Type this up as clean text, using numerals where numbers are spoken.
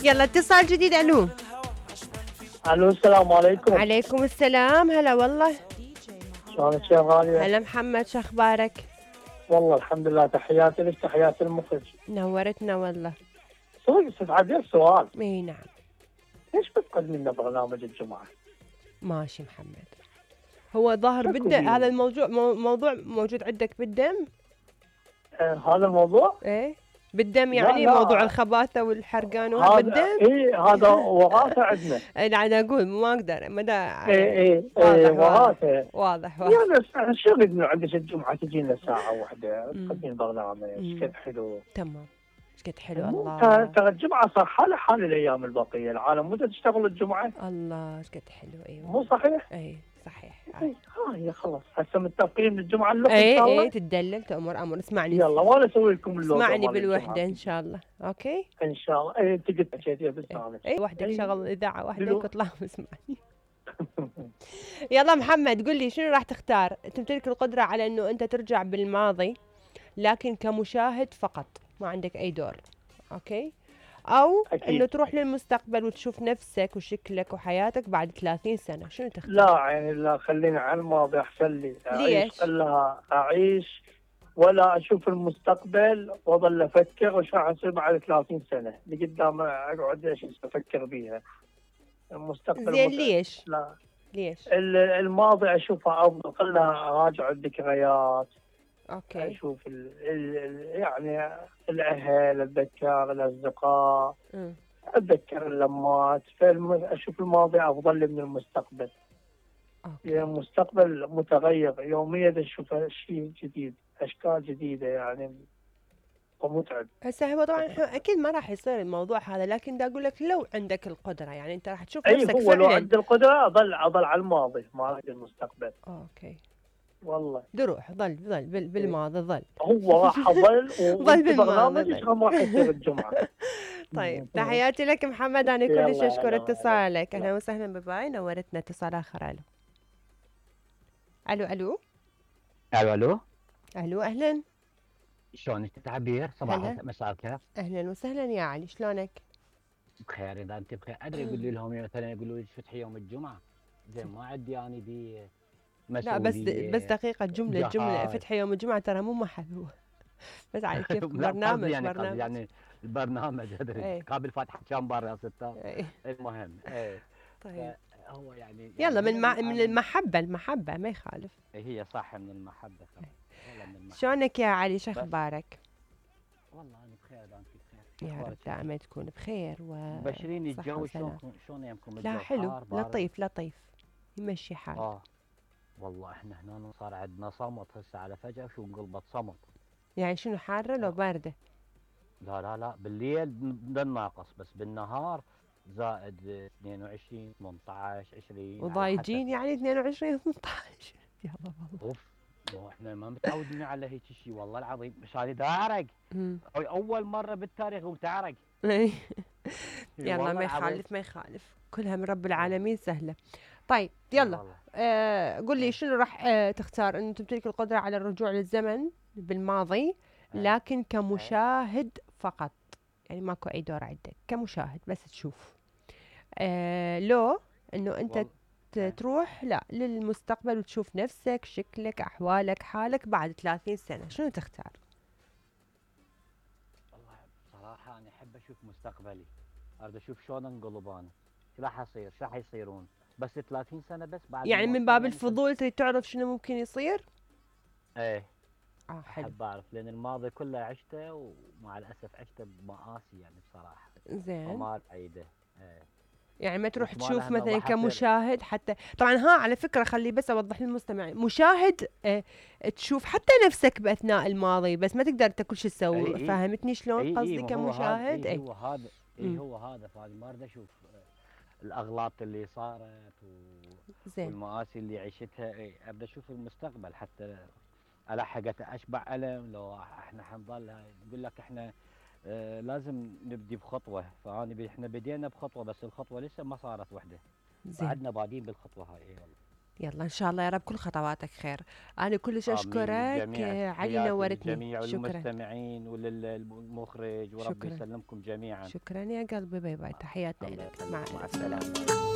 يلا اتصال جديد. الو الو السلام عليكم. عليكم السلام. هلا والله. شلونك يا غالية؟ هلا محمد، شو اخبارك؟ والله الحمد لله، تحياتي لك تحياتي المخرج. نورتنا والله. سوري استاذ عبير، سؤال. اي نعم. ليش بتقدمي لنا برنامج الجمعة؟ ماشي محمد. هو ظاهر بالدم هذا الموضوع، موضوع موجود عندك بالدم؟ هذا الموضوع؟ ايه بالدم يعني. لا. موضوع الخباثة والحرقان وهذا بالدم؟ ايه هذا وراثة عندنا. انا اقول ما اقدر مدى. ايه واضح وراثة. واضح. يعني شو انه عندك الجمعة تجينا ساعة واحدة تقدمين برنامج كذا حلو. تمام. ايش قد حلو الله. ترى الجمعة صار حال الايام البقية، العالم متى تشتغل الجمعة؟ الله ايش قد حلو. ايوه مو صحيح؟ اي صحيح. هي خلاص هسه متفقين الجمعة اللي اي تدلل تأمر امر. اسمعني يلا وانا اسوي لكم اللوجو. اسمعني بالوحدة ان شاء الله. اوكي ان شاء الله. اي انت قلت حكيتيها بالثاني. اي وحدك شغل اذاعة وحدك واطلع واسمعني. يلا محمد قل لي شنو راح تختار؟ تمتلك القدرة على انه انت ترجع بالماضي لكن كمشاهد فقط، ما عندك اي دور. اوكي. او أكيد. انه تروح للمستقبل وتشوف نفسك وشكلك وحياتك بعد 30 سنة، شنو تختار؟ لا يعني لا، خليني على الماضي احسن لي. ليش؟ خلها اعيش ولا اشوف المستقبل واظل افكر وش راح يصير بعد 30 سنة اللي قدام، اقعد ايش افكر بيها. المستقبل زين ليش؟ لا ليش؟ الماضي اشوفها افضل، خلها اراجع الذكريات. اوكي. اشوف يعني الاهل، اتذكر الاصدقاء، اتذكر اللمات. اشوف الماضي افضل لي من المستقبل. يعني المستقبل متغير يوميا، اشوف شيء جديد، اشكال جديده يعني، ومتعب. هسه هو طبعا اكيد ما راح يصير الموضوع هذا، لكن دا اقول لك لو عندك القدره يعني انت راح تشوف نفسك هو فعلا. لو عندي القدره اظل على الماضي، ما اريد المستقبل. اوكي. والله دروح ظل بالماضي ظل. هو راح اظل ظل بالماضي برنامج ما راح يصير الجمعه. طيب تحياتي لك محمد، انا كلش اشكر اتصالك. اهلا وسهلا بباي، نورتنا. اتصال اخر. الو الو الو الو الو اهلا. شلونك تعبير؟ صباح مساء الخير. اهلا وسهلا يا علي، شلونك؟ بخير. اذا انت بخير ادري يقولوا لهم مثلا يقولوا لي فتحي يوم الجمعه، زين ما عندي اني دي مسؤوليه. لا بس دقيقه، جمله فتحي يوم الجمعه ترى مو محل. بس على كيف برنامج يعني البرنامج ادري قابل فاتحه كم بار يا ستار. المهم طيب هو يعني يلا من المحبه ما يخالف. هي صح من المحبه. شلونك يا علي؟ شو اخبارك؟ والله انا بخير. انت بخير يا رب دائما تكون بخير بشريني الجو شلون يمكم؟ لا حلو لطيف يمشي حال. والله احنا هنا صار عندنا صمت هسه على فجأة شو انقلبت صمت. يعني شنو حارة لو باردة؟ لا بالليل ناقص، بس بالنهار زائد 22 18 20. وضايجين يعني 22 18. يا الله اوف. احنا ما متعودين على هيك شيء والله العظيم. مش هذه دارق. اول مرة بالتاريخ وتعرق. يلا ما يخالف كلها من رب العالمين سهلة. طيب يلا قل لي شنو راح تختار؟ انه تمتلك القدرة على الرجوع للزمن بالماضي لكن كمشاهد فقط، يعني ماكو اي دور عندك، كمشاهد بس تشوف. لو انه انت تروح لا للمستقبل وتشوف نفسك شكلك احوالك حالك بعد 30 سنة، شنو تختار؟ والله بصراحة انا احب اشوف مستقبلي، اريد اشوف شلون انقلب انا، شو راح يصير، شو راح يصيرون، بس 30 سنة بس بعد. يعني من باب الفضول تريد تعرف شنو ممكن يصير؟ ايه حلو. احب اعرف لان الماضي كله عشته ومع الاسف عشته بمآسي يعني بصراحة. زين. وما عيده. يعني ما تروح تشوف مثلا كمشاهد حتى. طبعا على فكرة خلي بس اوضح للمستمع، مشاهد تشوف حتى نفسك باثناء الماضي بس ما تقدر انت كل شيء تسوي. فهمتني شلون قصدي كمشاهد؟ هو هذا فانا ما اريد اشوف الاغلاط اللي صارت والمآسي اللي عشتها. ابدا اشوف المستقبل حتى الحقت اشبع الم. لو احنا حنظل نقول لك احنا لازم نبدي بخطوه، فانا احنا بدينا بخطوه بس الخطوه لسه ما صارت وحده. بعدنا بادين بالخطوه هاي. والله يلا ان شاء الله يا رب كل خطواتك خير. انا كلش اشكرك علي، نورتني. جميع المستمعين وللمخرج، وربي يسلمكم جميعا. شكرا يا قلبي، باي باي، تحياتنا لك، مع السلامه.